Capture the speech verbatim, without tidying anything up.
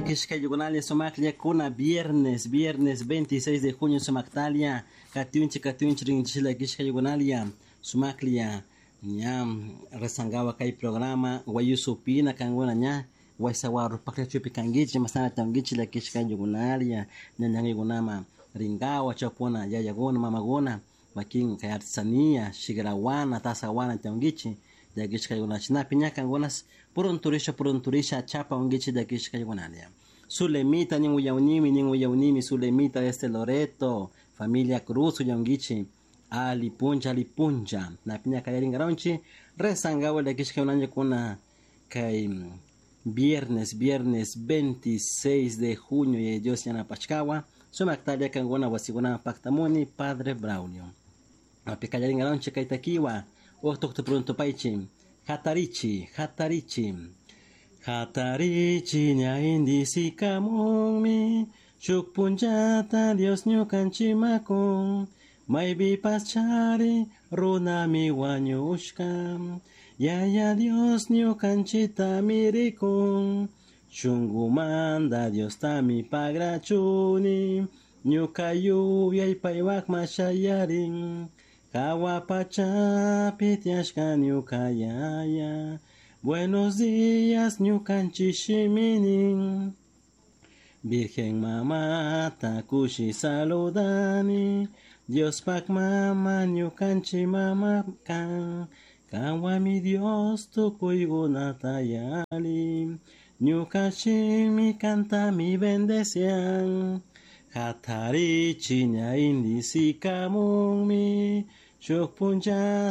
Llakishka sumaklla viernes, viernes veintiséis de junio sumaktalia, katiunchi katiunchi rinchi llakishka yugunalia, sumaklia, ña rezangawa kay programa, wayusupina kanguna ña, waysawaru paklla chupi kangichi, masana tangichi llakishka yugunalia, ñañangigunama ringawa chapuna yayaguna mamaguna, wakin kay artesanía, shigrawana, tasawana tangichi, llakishka yugunachinapi ña kangunas purunturisha purunturisha chapa ungichi llakishka yugunalia. Zulemita nin uyaunimi nin uyaunimi Zulemita desde Loreto, familia Cruz uyaungichi, ali puncha ali puncha, napiña kallaringaronchi, rezangawa llakishka yugunanya kay viernes, viernes veintiséis de junio y Dios yanapachkawa, sumaktalia kanguna wasiguna pactamuni, Padre Braulio. Api kallaringaronchi kaytakiwa, uqtuqtu pruntupaychi, hatarichi, hatarichi. Hatarichi ña indisikamunmi, shuk punllata Dios ñukanchimakun, maypipas chari runami wañushka, Yaya Dios ñukanchitami rikun, shunkumanta Diostami pagrachuni, ñuka yuyay paywakma shayarin, hawa pachapi tiyashka ñuka yaya. Buenos días, ñukanchik shiminin. Virgen mamata kushi saludani, Diospak mama ñukanchik mama kan, kanwami Dios tukuykunata yali, ñuka shimi kantami bendecian. Hatarichi ña indisikamunmi, shuk punllata